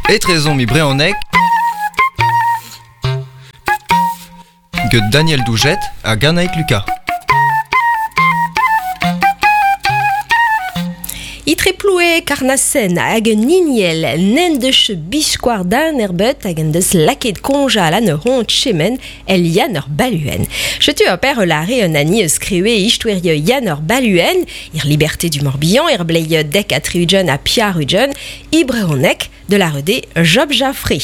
Etrezomp e brezhoneg get Daniel Doujet hag Annaig Lucas. Itre ploue Karnasen hag un hiniel n'en deus biskoar dan erbet hag en deus lakaet konjal an ur hont chemen el Yann ur baluen. Chetu ur per lare un ani eus skriwe istoerio Yann ur baluen, ir liberté du Morbihan, ir blei dek a triugen a piar ugen, i brehoneg de la rede Job Jaffré,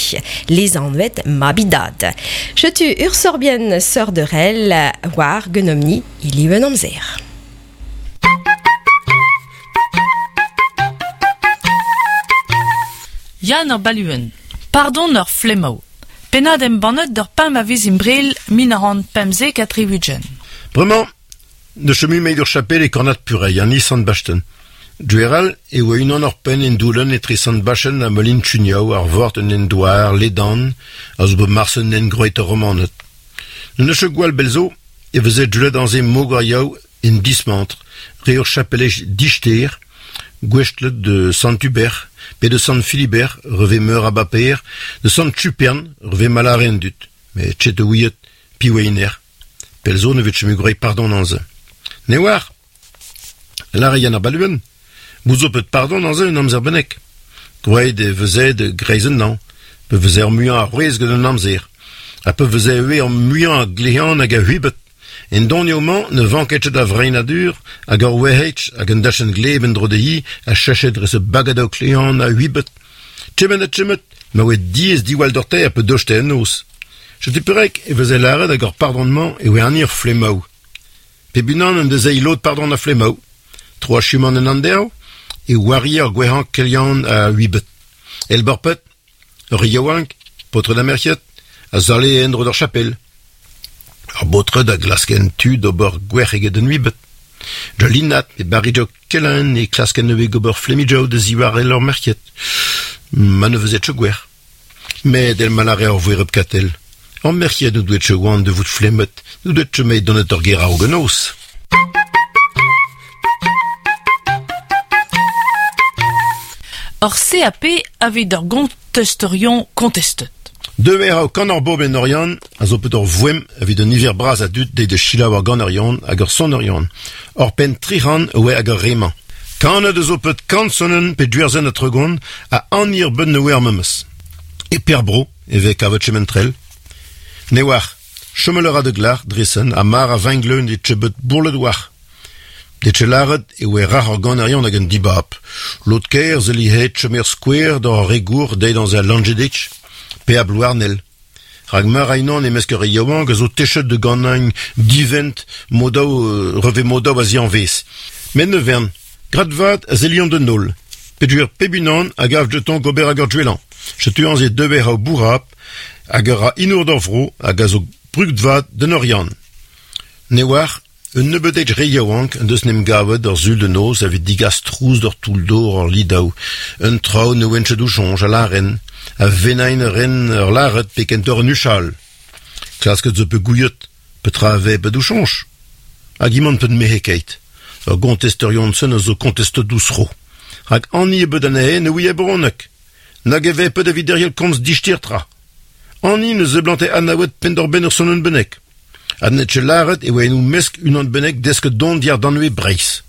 les anvet mabidad. Chetu ur sorbien seur de rel war genomni iliwen amzer. Yann ur baluen. Pardon ur flemmaou. Pennad embannet d'ur pemp a viz imbrel min a ran pemzek ha tri-ugent. Bremañ, ne chemu meid ur chapel e kornad Purei, an sant Basten. Dueral e oa unan ur penn en doulen etre sant Bachen ha Melin Chuniao ar vort un en douar, ledan, a zo bet marsen en groet ur romanet. Ne neus gwall belzo e veze deuet anze mogoriaou en dismantr, re ur chapelej dichter, gwestlet de Sant Hubert, pe de Sant Philibert, reve meur a baper, de Sant Chupern, reve malare en dut, me tchet ouiet, pi oa Pelzo ne vet chemu grei pardon anze. Ne war, lare yann ar baluen, bout zo pet pardon anze un amzer benek. Groet e veze de greizen nan, pe veze ar muiañ ar c'hwez gant an amzer, ha pe veze eo ar muiañ a glehan hag a huibet. En donio-mañ ne vanket ket a vreinadur hag ur wehetch hag un dachenn gleb en dro dezhi a chachet dre se bagad o klehan a huibet. Tchemet ha tchemet, ma oe diaes diwall doc'hte ha pe doste en noz. Setu perek e veze lâret hag ur pardon-mañ e oe an ur flemmaou. Pep unan en deus lod pardon a flemmaou. Tro achumant en anderv e wari ar gwehañ kelian a huibet. El borpet, ur yaouank, paotr da merc'hed, a zale en dro d'ar chapel. Ar baotred a glasken tu d'ober gwerc'h eget un huibet. Da linat e barri kelan e klasken neuve gober flemmijoù da ziwar el ur merc'hed. Ma ne vezet ket gwerc'h. Met el malare ar voereb katel. Ar merc'hed n'o doet ket oan de vout flemmet, n'o doet ket meit donet ur ger ar genoz. Ur CAP avait ur gontesterion kontestet. Deuet eo kan ar bob en Oriant a zo pet ur voem evit un niver bras a dud deit de chilaou ar gant Oriant hag ur son Oriant. Ur penn tric'han oe hag ur remañ. Kanet a zo pet kant sonnen pe duerzen a tregont a an ir beun ne oe ar memes. E per bro e vez kavet chementrel. Ne oar, chomel a ra de glar dresen a mar a vengleun de tchebet bourlet oar. De tchelaret e oe rac'h ar gant Oriant hag un dibab. Lot ker ze li het chemer square d'ar regour deit an ze langedich, pe a blouarnel. Rag meur a unan e mesk ur yaouank a zo techet de gant divent modaou, reve modaou a zianvez. Met ne vern, grad vat a zelion de nol. Peduer pep unan a gav jeton gober hag ur dwelan. Chetu an ze deber a bourrap hag ur a inour d'ar vro hag a zo brugt vat den Oriant. Ne oar, un nebeudej re yaouank an deus nem gavet ur zul de noz evit digas trouz d'ur toull d'or ur lidaou. Un traoù ne oen ket o soñj a laren, a venain ren ur laret pe kentor un uchal. Klasket zo pe gouiet, petra a ve bet o soñj. Hag imant pet mehe keit. Ur gontesterion sen a zo kontestet dous ro. Hag ani e bet anezhe ne ouie bronek. Nag e ve pet evit derriel komz dichtir tra. Ani ne zeblante anaouet pen d'ur ben ur sonnen benek. Ha net che laret e oa en mesk unan benek desket don diar danwe breiz.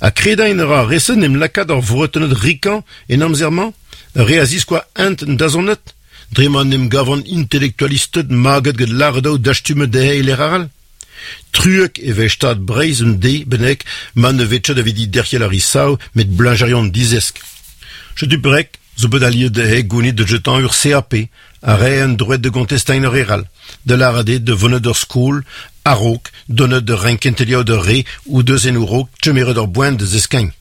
A kredain ra resen em lakaat ar vretenet rikan en amzermañ, re a ziskoa ent en dazonet, dre ma nem gavan intelektualisted maget get laret dastumet dezhe e aral. Truek e vez stad breiz un de benek ma ne vet evit di derc'hel ar isaou met blanjerion dizesk. Chetu brek zo bet aliet dezhe gounit de jetan ur CAP, a re un droet de gontestein ur eral, de l'arade de vonet ur skol, a-raok, donet de renkentelio de re ou deus en urok, tchemeret ur boen de zeskagn.